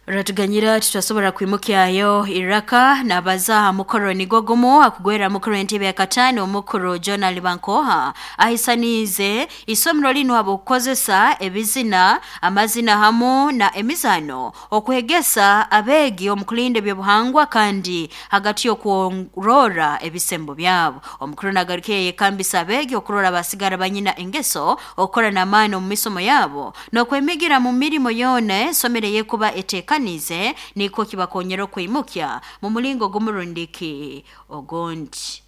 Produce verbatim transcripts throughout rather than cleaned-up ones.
Ratuganyira tutasobora kwimukyayo iraka nabaza mukoro nigo gumu akugwera mukuru entebe ya katano omukuru John Alibankoha ahisanize isomero lino abokukozesa ebizina amazina hamu na emizano okwegesa abegi omukulinde byobuhangwa kandi hagati y'okurora ebisembo byabo. Omukuru nagarukiye yekambisa abegi okurora basigara banyina engeso okukora n'amaani omu misomo yabo n'okwemigira mu mirimo yona esomero eyekuba eteeka kanize niko kibakonyera okwimukya mu mulingo gumurundiki ogondi.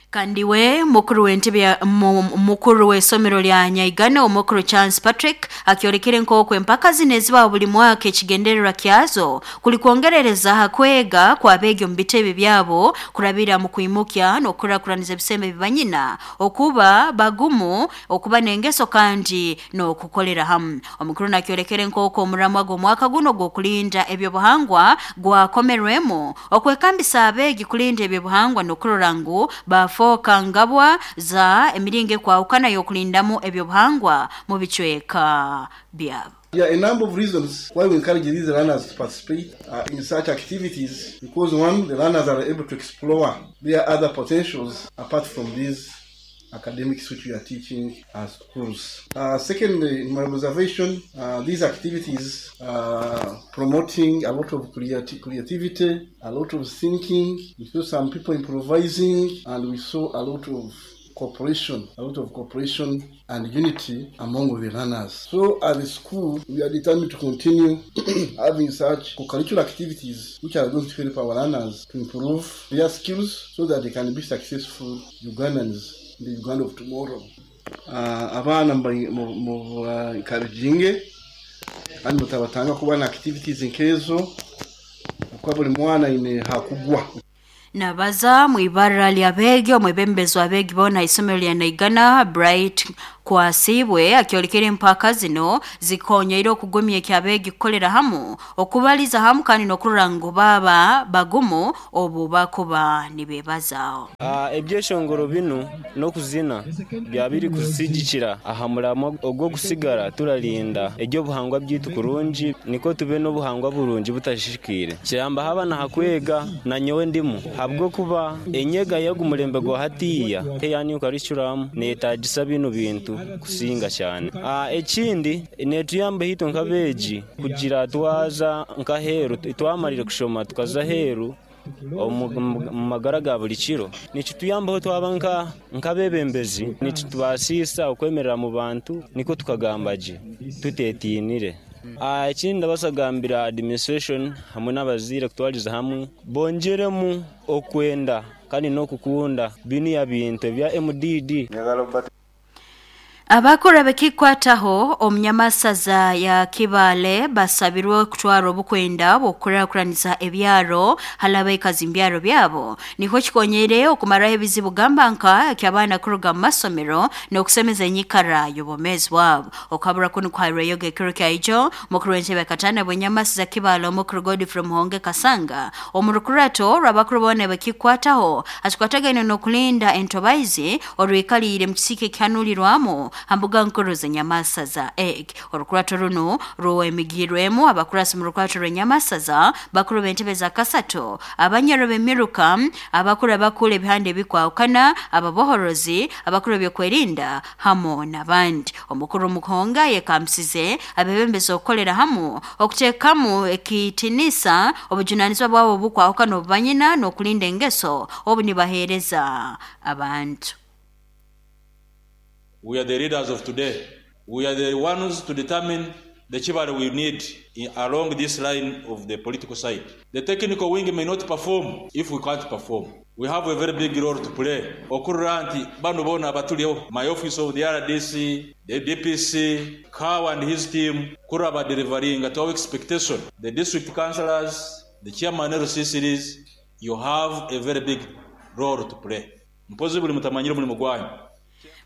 Kandi we mukuru w'entebe mukuru w'esomero lya Nyaigana omukuru Chance Patrick akyorekere nk'okwo empaka zino ezibaho buli mwaka ekigendererwa kyazo kuli kwongerereza ha kwega kw'abeegi omu bitebe byabo kurabira mu kwimukya n'okukurakuraniza ebisembe bibanyina okuba bagumu okuba n'engeso kandi n'okukolera hamu. Omukuru nakyorekere nk'okwo omuramwa gw'omwaka guno gw'okulinda ebyobuhangwa gwakomerwemu okwekambisa abeegi kulinda ebyobuhangwa n'okurora ngu bafoka ngabwa za emiringo ekwahukana y'okulindamu ebyobuhangwa mu bicweka byabo. There are a number of reasons why we encourage these learners to participate uh, in such activities, because one, the learners are able to explore their other potentials apart from these academics which we are teaching as schools. Uh, secondly, in my observation, uh, these activities are promoting a lot of creati- creativity, a lot of thinking. We saw some people improvising, and we saw a lot of cooperation, a lot of cooperation and unity among the learners. So at the school, we are determined to continue having such co-curricular activities which are going to help our learners to improve their skills so that they can be successful Ugandans in the Uganda of tomorrow. Uh, abaana mu encouraging kandi mutabatanga kuba na activities nkezo kuba buli mwana ine hakugwa. Nabaza mu ibara ly'abeegi omwebembezi w'abeegi boona isomero lya Naigana Bright Kwasibwe akyorekere empaka zino zikonyeire okugumya ekyabeegi kukolera hamu okubaliza hamu kandi n'okurora ngu baba bagumu obu bakuba nibeebazaaho. Uh, ebyeshongoro binu n'okuzina byabiri kusigikira aha muramo ogw'okusigara turalinda ebyobuhangwa byitu kurungi niko tube n'obuhangwa burungi butashishikire kiramba haba nahakwega na nyowe ndimu habwokuba enyega y'ogumulembe gwa hatiya teyani curriculum netagisa binu bintu kusinga cyane. Ah, ekindi netuyamba hito nkabeegi kugira twaza nkaheru twamarire kushoma tukaza heru omu magara ga buli kiro nikituyambaho twaba nka nkabebembezi nikitubasisa okwemerera mu bantu niko tukagamba gye tutetinire. Ah, ekindi ndabasagambira administration hamwe n'abaziire kutwaliza hamwe bongeremu okwenda kandi n'okukunda binu ya bintu ebya M D D. Abakora bekikwataho omunyamasaza ya Kibale basabirwe kutwara obukwenda bw'okukurakuraniza ebyaro halaba ikazi mbyaro byabo niko kikonyere okumaraho ebizibu gamba nka eky'abaana kuruga mu masomero n'okusemeza enyikara y'obwomeezi bwabo. Okabura kunu kuhairweyo ekiro kya ijo mukuru w'entebe katana bw'enyamasaza Kibale omukuru Godfrey Muhonge Kasanga omu rukurato rw'abakuru boona bekikwataho akikwatagaine n'okulinda entobaizi orwikaliire mu kisiki ekihanulirwamu hambuga nkuru z'enyamasaza egg. Orukurato runo ruwemigirwemu abakurasi mu rukurato rw'enyamasaza bakuru b'entebe za kasato abanyoro b'emiruka abakuru abakuru ebihande ebikwahukana ababohorozi abakuru byokwerinda hamo n'abandi. Omukuru Muhonga yekampisize abebembezi okukolera hamu okuteekamu ekitinisa obujunanizibwa bwabo obukwahukana obubanyina n'okulinda engeso obu nibaheereza abantu. We are the leaders of today. We are the ones to determine the chivalry we need in, along this line of the political side. The technical wing may not perform if we can't perform. We have a very big role to play. Okurra nti bano bona abatuliho, my office of the R D C, the D P C, Cow and his team, kuraba delivering at our expectation. The district councillors, the chairman of the C C Ds, you have a very big role to play. Mpozi buli mutamanyire mulimu gwanyu.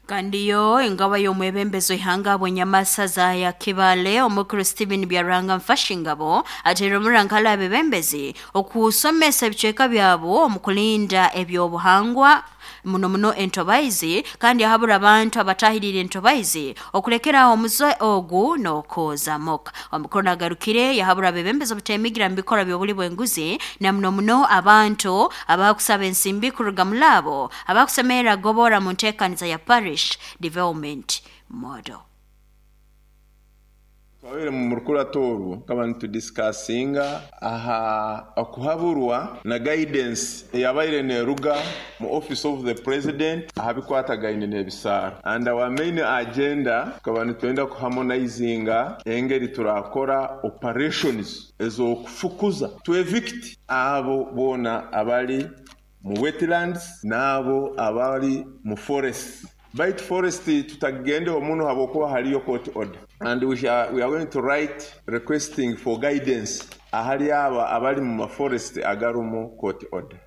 Kandiyo ingaba y'omwebembezo ihanga bwenyamasaza ya Kibale omukuru Stephen Byaranga Mfashingabo atera omurankala abebembezi okusomesa ebicweka byabo omu kulinda ebyobuhangwa muno muno entobaizi kandi ahabura abantu abatahirire entobaizi okulekera omuze ogu n'okoza moka. Omukuru nagarukire yahabura abebembezi obutemigira mu bikora by'obuli bw'enguzi na muno muno abantu abakusaba ensimbi kuruga mulabo abakusemera gobora mu nteekaniza ya parish development model. Twabere mu rukurato kaba nitudiscussinga aha okuhaburwa na guidance eyabaire neruga mu office of the president aha bikwatagaine n'ebisaaro, and our main agenda kaba nitwenda kuharmonizinga engeri turakora operations ez'okufukuza to evict abo bona abali mu wetlands n'abo abali mu forest. Bait forest tutagende omuno habokuba haliyo court order, and we are, we are going to write requesting for guidance ahali aba abali mu forest agarumu court order.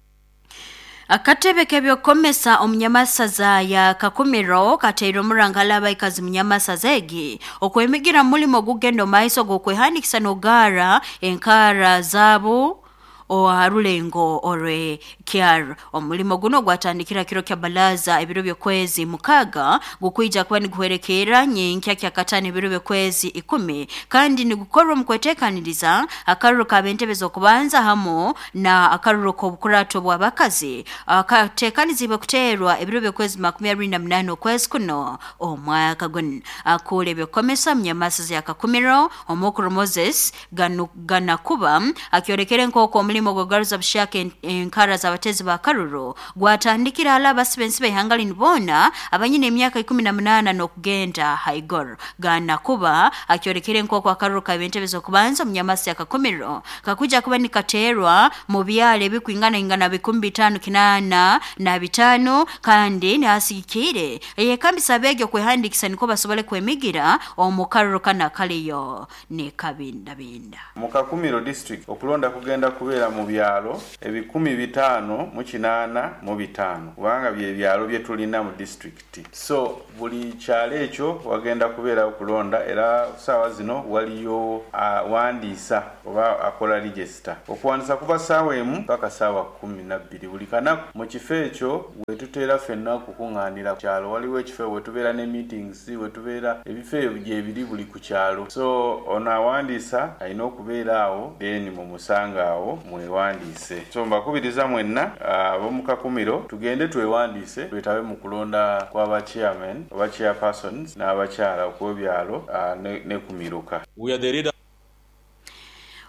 Akatebe kebyokomesa omunyamasaza ya Kakumiro kateire omurangala abaikazi munyamasaza egi okwemigira mulimo gugendo maiso gokwehanikisa nogara enkara zabo oharulengo orwe kyar. Omulimo guno gwatandikira kiro kya balaza ebiro byokwezi mukaga gukwija kuba niguherekera nyenkya kya katano ebiro byokwezi ikumi kandi nigukorwa mu kwetekaniriza akaruru ka bentebe zokubanza hamo na akaruru k'obukurato bw'abakazi akatekanizibwe kuterwa ebiro byokwezi makumi abiri na munana okwezi kuno omwaka guno. Akule byokomesa munyamasaza ya Kakumiro omukuru Moses ganu, Ganakuba akyorekere nk'oku omulimo gwagaruza bushaka enkara z'abatezi ba karuru gwatandikira ala abasibensi b'ihanga bona abanyine emyaka ikumi na munana n'okugenda haigoro. Ganakuba akyorekere nk'oku akaruru ka bentebe z'okubanza munyamasi ya Kakumiro kakuja kuba nikaterwa mu byalo ebikwingana ingana bikumi bitano kinana na bitano kandi nasigikire eyekambisa abege okwehandikisa niko basobole kwemigira omu karuru kana kaliyo ne kabindabinda. Mu Kakumiro district okulonda kugenda kubeera mu byalo ebikumi bitaano mu kinaana mu bitaano kubanga bye byalo bye tulina mu district. So buli kyalo ekyo wagenda kubeera okulonda, era saawa zino waliyo awandiisa oba akola register. Okuwandiisa kuva saawa emu paka saawa kumi na bbiri buli kanaku. Mu kifo ekyo wetuteera ffenna okukuŋŋaanira ku kyalo, waliwo ekifo wetubeera ne meetings, wetubeera ebifo ebyo gye biri buli ku kyalo. So ono awandiisa alina okubeera awo then mumusanga awo mwewandiise. So mbakubiriza mwenna ab'omu Kakumiro tugende twewandiise twetabe mu kulonda kw'aba chairman oba chairpersons n'abakyala okw'ebyalo ne, ne ku miruka. We are the leader.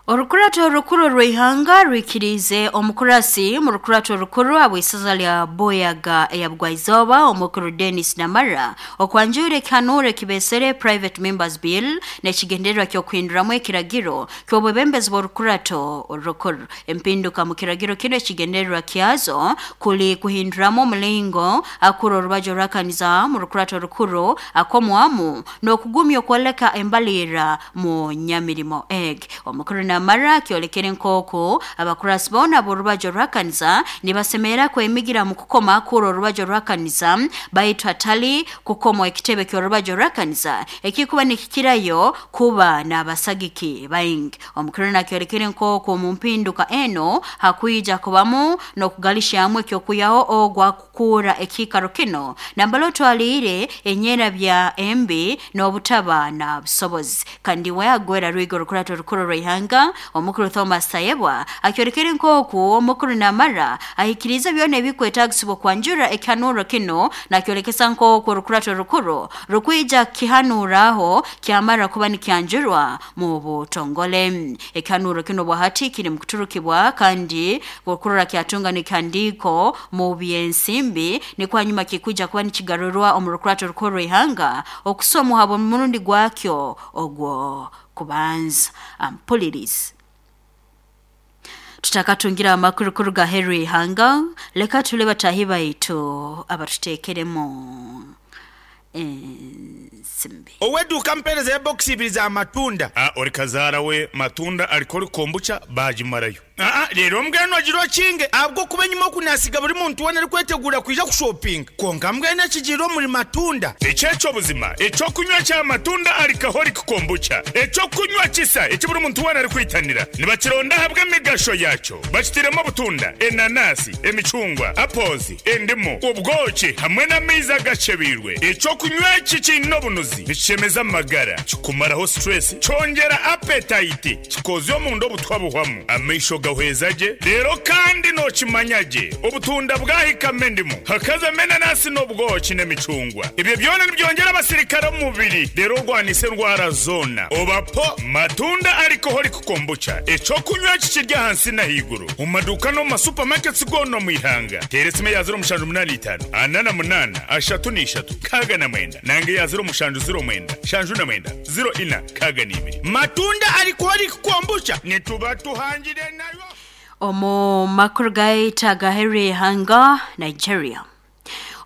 Orukurato orukuru rw'ihanga rwikirize omukurasi mu rukurato orukuru abw'isaza lya Boyaga eya Bugwaizoba omukuru Dennis Namara okwanjura ekihanuro kibesere Private Members Bill n'ekigendererwa ky'okuhinduramu ekiragiro ky'obwebembezi bw'orukurato orukuru. Empinduka mu kiragiro kino ekigendererwa kyazo kuli kuhinduramu omulingo akuru orubajo rwakaniza mu rukurato orukuru akomwamu n'okugumya okwoleka embalira mu nyamirimo eg. Omukuru Namara kyolekere nkoko abakurasi bona borubajo rwakanisa nibasemera kwemigira mu kukoma akuru orubajo rwakanisa baitu hatali kukoma ekitebe ky'orubajo rwakanisa ekikuba nikikirayo kuba n'abasagiki baingi. Omukuru nakyolekere nkoko mu mpinduka eno hakuija kubamu n'okugalishamu ekyokuyaho ogwa kukura ekikaro kino nambalo twalire enyera bya embi n'obutaba na busobozi. Kandi we agwera rwigo rukurato rukuru rw'ihanga omukuru Thomas Tayebwa akyorekere nkoku omukuru Namara ahikiriza byona ebikwetagisibwa kwanjura ekihanuro kino nakyolekesa nkoku rukurato rukuru rukwija kihanuraho kyamara kuba nikyanjurwa mu butongole. Ekihanuro kino bwahati kiri mu kuturukibwa kandi gukurura kyatunga nikihandiko mu byensimbi ni kwa nyuma kikuja kuba nikigarurwa omu rukurato rukuru rw'ihanga okusomwa habo murundi gwakyo ogwo kubanza ampulirizi. Tutakatungira amakuru kuruga Henry Hanga leka tule batahi baitu abatutekeremo Ensimbi. Oweduka mpereza ya box ibiri za matunda. Ah, ori kazara we matunda alikori kombucha bajimarayo. Ah, rero mbwenu agiro kinge abwo kuba nyuma kunasiga buri muntu wena ari kwetegura kuja kushopping. Konka mbwenu akigiro muri matunda. Echecho buzima, echo kunywa cha matunda alcoholic kombucha. Echo kunywa kisa eki buri muntu wena ari kwitanira. Nibakironda habwa emigasho yacho. Bakitiremo butunda, enanasi, emicungwa, apples, endimu, ubwoki hamwe n'amaizi agacebirwe. Echo kunywa eki kiine obunuzi, nikishemeza amagara, kikumaraho stress, kyongera appetite, kikozya omunda obutwa buhwamu. Amaisho gahweza gye, rero kandi nokimanya gye, obutunda bwahikamo endimu, hakazamo enanasi n'obwoki n'emicungwa. Ebyo byona nibyongera abasirikare omu mubiri, rero orwanisa endwara zoona. Obapo matunda alcoholic kombucha, ekyokunywa kikirya ahansi n'ahaiguru. Mu maduuka n'omu masupamaketi goona omu ihanga. Teera esimu eya ziro mushanju munaana itaano, ana na munaana, ashatu n'ishatu, nkaaga na mwenda. Nange eya ziro mushanju ziro mwenda, shanju na mwenda, ziro ina, nkaaga n'ibiri. Matunda alcoholic kombucha nituba tuhangire nayo. Omu makuru gaita gaheri hanga Nigeria.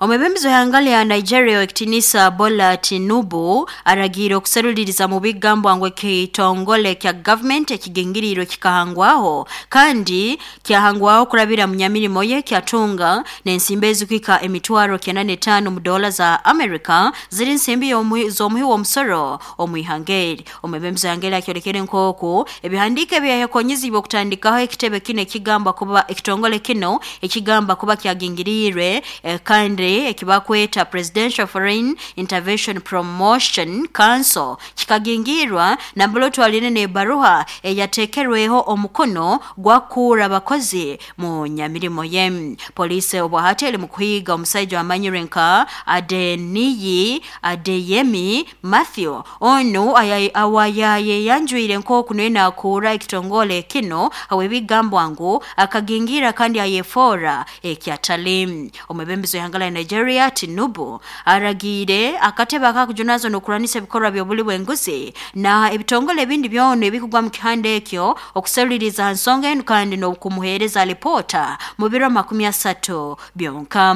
Omwebembezi w'ihanga lya Nigeria ekitinisa Bola Tinubu aragiire okuseruliriza mu bigambo ngu ekitongole kya government ekigingiriirwe kikahangwaho kandi kyahangwaho kurabira mu nyamirimo ye kyatunga n'ensimbi ezikuhika emitwaro kyenda n'etaano mu dola za America ziri nsimbi z'omuhi w'omusoro omu ihanga eri. Omwebembezi w'ihanga eri akyolekere nk'oku ebihandiiko ebyayekonyezibwe okutandikaho ekitebe kino ekigamba kuba ekitongole kino ekigamba kuba kyagingiriirwe eh, kandi ekibakweta Presidential Foreign Intervention Promotion Council kikagingirwa nambolo twaline n'ebaruha eyatekerweho omukono gwakura abakozi mu nyamirimo ye. Polisi obwahati eri mu kuhiga omusajja wamanyirwe nka Adeniyi Adeyemi Matthew onu awayayeyanjwire nk'oku niwe nakuura ekitongole kino awebigambwa ngu akagingira kandi ayefora ekyatali. Omwebembezi w'ihanga lya Nigeria Tinubu aragiire akatebe akakujunazo n'okuranisa ebikorwa by'obuli bw'enguzi na ebitongole ebindi byona ebikugwa mu kihanda ekyo okuseruliriza ha nsonga enu kandi n'okumuheereza alipoota mu biro makumi asatu byonka.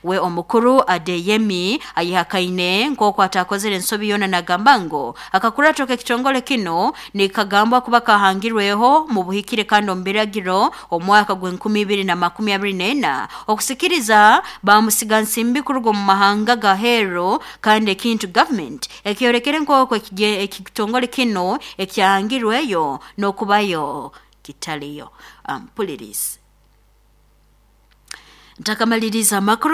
We omukuru Adeyemi ayihakaine nk'oku atakozere ensobi yoona nagamba ngu akakurato k'ekitongole kino nikagambwa kuba kahangirweho mu buhikire kandi omu biragiro omwaka gw'enkumi ibiri na makumi abiri n'ena okusikiriza bamusiga nsimbi kuruga mu mahanga gahero kandi ekintu government ekyorekere nk'oku ekitongole kino ekyahangirweyo n'okubayo kitaliyo. Ampulirizi. Ntakamaliriza amakuru.